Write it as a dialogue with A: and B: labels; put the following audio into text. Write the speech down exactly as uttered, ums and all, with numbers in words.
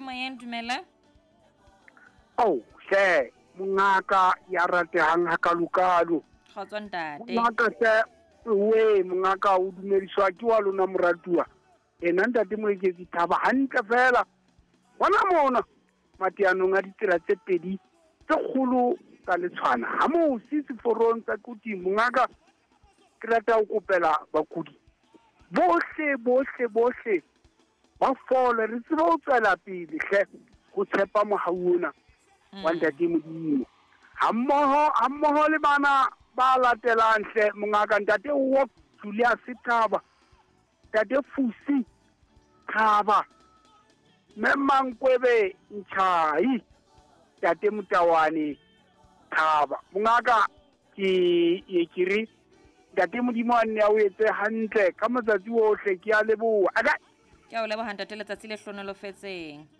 A: Moyeng, dumela.
B: Ao hle mongaka ya ratehang hakalokalo.
A: Kgotso ntate.
B: Mongaka hle, we mongaka o dumediswa ke wa lona moratuwa. Ena ntate Moeketsi Thaba hantle fela. Hona mona mateanong a ditsela tse pedi tse kgolo tsa letshwana. Ha mosi seforong tsa Quthing mongaka, ke rata ho kopela bakudi bohle bohle bohle ba fole, re tsebe ho tswela pele hle ho tshepa mohau ona wa ntate Modimo. Hammoho hammoho le bana ba latelang hle mongaka, ntate Wok Julius Thaba, ntate Fusi Thaba, mme Mankwebe Ntjhai, ntate Motawane Thaba. Mongaka ke ye ke re ntate Modimo a nne a o etse hantle ka matsatsi ohle, ke a leboha. Aka
A: Ke a o leboha ntate, letsatsi le hlonolofetseng.